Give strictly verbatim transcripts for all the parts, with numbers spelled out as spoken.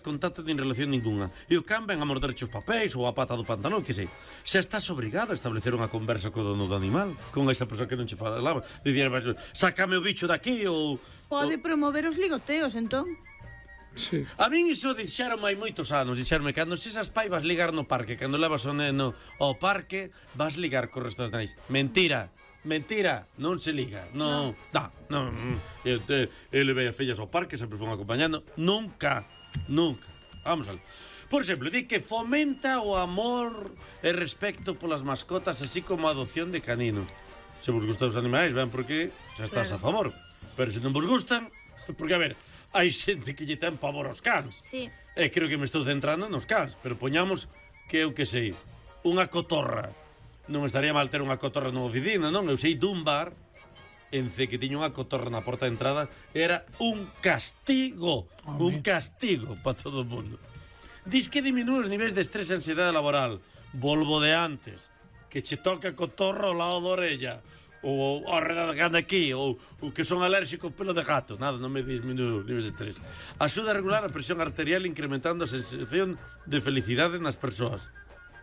contacto nin relación ninguna. E o can ven a morderche os papéis ou a pata do pantalón, que sei. Xa estás obrigado a establecer unha conversa co dono do animal, con esa persoa que non che falaba. Dicir, sácame o bicho daqui ou... Pode promover os ligoteos, entón. Sí. A min iso dixeron hai moitos anos, dixeronme, cando se esas pai vas ligar no parque, cando levas o neno ao parque, vas ligar co resto das nais. Mentira. Mentira, non se liga. Non, no, non. Ele ve as fillas ao parque, sempre fomos acompañando. Nunca, nunca. Vamos a ver. Por exemplo, di que fomenta o amor e respecto polas mascotas, así como a adopción de caninos. Se vos gustan os animais, ben, porque xa estás a favor. Pero se non vos gustan, porque, a ver, hai xente que lle ten pavor aos cans. Sí. E creo que me estou centrando nos cans, pero poñamos que eu que sei, unha cotorra. Non estaría mal ter unha cotorra nunha oficina, non? Eu sei dun bar en C que tiña unha cotorra na porta de entrada, era un castigo, un castigo para todo o mundo. Dis que diminúe os niveis de estrés e ansiedade laboral. Volvo de antes, que che toca cotorra ao lado da orella, ou arregando aquí, ou, ou que son alérxico ao pelo de gato. Nada, non me disminúe os niveis de estrés. Axuda a regular a presión arterial incrementando a sensación de felicidade nas persoas.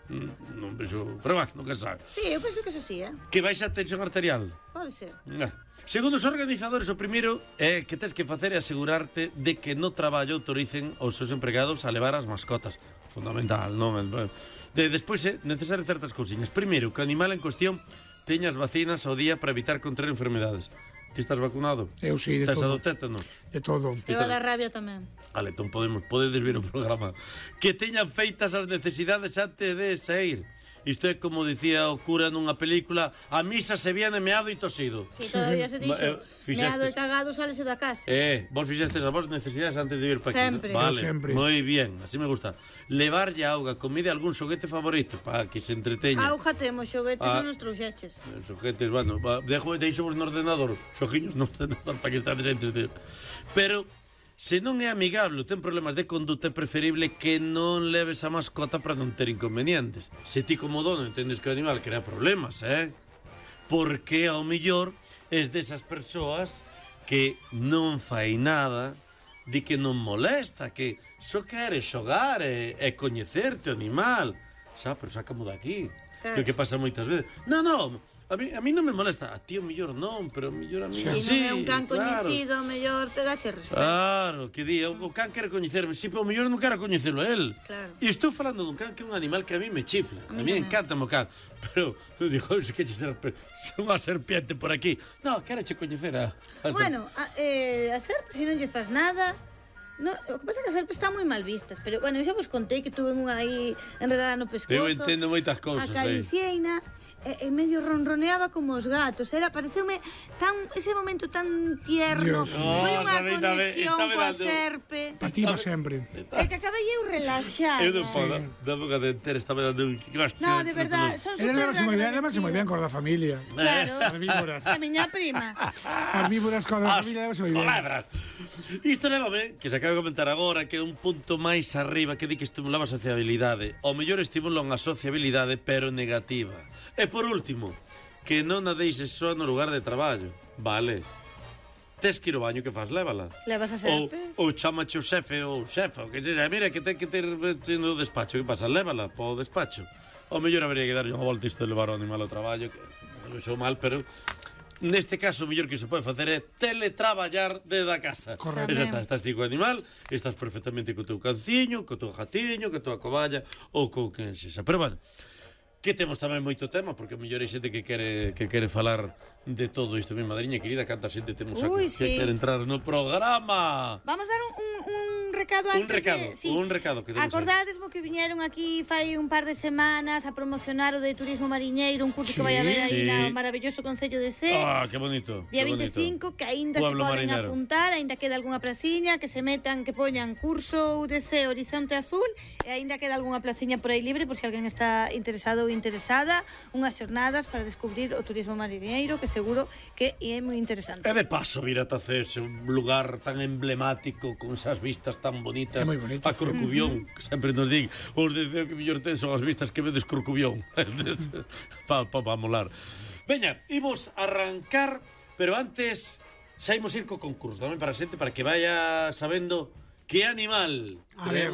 Non vexo, pero va, nunca sabe. Sí, eu penso que eso sí, eh? Que baixa a tensión arterial. Pode ser. Ah. Segundo os organizadores, o primeiro é que tens que facer é asegurarte de que no traballo autoricen aos seus empregados a levar as mascotas. Fundamental, non? De, despois é necesario certas cousiñas. Primeiro, que o animal en cuestión teña as vacinas ao día para evitar contraer enfermedades. Ti estás vacunado? Eu sí, de Estás todo. a do tétanos? De todo. Eu a da rabia tamén. Vale, entón podemos, podedes ver o programa. Que teñan feitas as necesidades antes de sair. Isto é como dicía o cura nunha película: a misa se viene meado e tosido. Sí, todavía se dixo, Eh, meado fixestes. e cagado salese da casa. Eh, vos fixestes as vos necesidades antes de vir para aquí. Sempre. Vale, Eu sempre. moi bien, así me gusta. Levarlle auga, comida e algún xoguete favorito para que se entreteña. Auja temos, xoguetes Ah. non nos trouxeches. Os xoguetes, bueno, va, dejo, deixo vos no ordenador, xogiños no ordenador para que estades entreteños. Pero se non é amigable, ten problemas de conduta, é preferible que non leves a mascota para non ter inconvenientes. Se ti como dono entendes que o animal crea problemas, eh? Porque ao millor es desas persoas que non fai nada, di que non molesta, que só quere xogar e, e coñecerte o animal. Xa, pero sácamo daqui. Claro. Que o que pasa moitas veces. Non, non, a mí, a mí non me molesta. A ti o millor non, pero o millor a mí Se sí, non é un can claro. coñecido, mellor te dache respeto. Claro, que di, o, o can quere coñecerme, si, pero o mellor non quero coñecelo a él. Claro. E estou falando dun can que é un animal que a mí me chifla. A A mí, mí me encanta o can. Pero, digo, se que che serpe, unha serpiente por aquí. No, quero che coñecer a... a Bueno, a, eh, a serpe, se non lle fas nada... No, o que pasa é que as serpes están moi mal vistas, pero, bueno, eu xa vos contei que tuve unha aí enredada no pescozo. Eu entendo moitas cousas aí. Acaricieina, e, e medio ronroneaba como os gatos. Era, pareceume tan, ese momento tan tierno. Dios. Foi Oh, unha David, David, conexión está coa dando- serpe. Pativa sempre. É que acabei eu relaxada. Eu non podo, da boca de entera estaba dando un... No, de verdad, son Ele super levase moi ben, levase moi ben agradecidas. cor da familia. Claro, Herbívoras. a miña prima. Herbívoras cor da As familia, levase moi ben. colebras. Isto levame, que se acaba de comentar agora, que é un punto máis arriba que di que estimulaba a sociabilidade. O mellor estimulan a sociabilidade, pero negativa. E por último, que non a deixes só no lugar de traballo. Vale. Tes que ir ao baño, que faz? Lévala. Levas a Ou, serpe? ou chamache o xefe ou xefa, o que sexa. Mira, que ten que ter no despacho. Que pasa? Lévala para o despacho. O mellor habería que darlle unha volta isto de levar o animal ao traballo, que non sou mal, pero neste caso o mellor que se pode facer é teletraballar desde a casa. Correcto. Esa está, estás ti co animal, estás perfectamente co teu canciño, co teu jatiño, co tua coballa ou co que sexa. Pero bueno, que temos tamén moito tema, porque o mellor hai xente que quere que quere falar de todo isto. Mi madriña querida, canta xente temos aquí Ui, que sí. quere entrar no programa. Vamos dar un, un, un recado antes Un recado, de... Sí. un recado que temos aí. Acordadesmo que viñeron aquí fai un par de semanas a promocionar o de turismo mariñeiro, un curso Sí, que vai haber aí sí. no maravilloso Concello de Cee. Ah, que bonito. Día que bonito. veinticinco, que aínda se Pueblo poden marinero. apuntar, aínda queda algunha placiña, que se metan, que poñan curso U D C Horizonte Azul, e aínda queda algunha placiña por aí libre, por se alguén está interesado ou interesada, unhas xornadas para descubrir o turismo mariñeiro, que seguro que é moi interesante. E de paso, vir a Tacés, un lugar tan emblemático, con esas vistas tan bonitas. É moi bonito, A Corcubión, que sempre nos din, os deseo que mellor ten son as vistas que vedes Corcubión. pa, pa, pa molar. Veña, imos arrancar, pero antes, xa imos ir co concurso, tamén para a xente, para que vaya sabendo que animal A ver.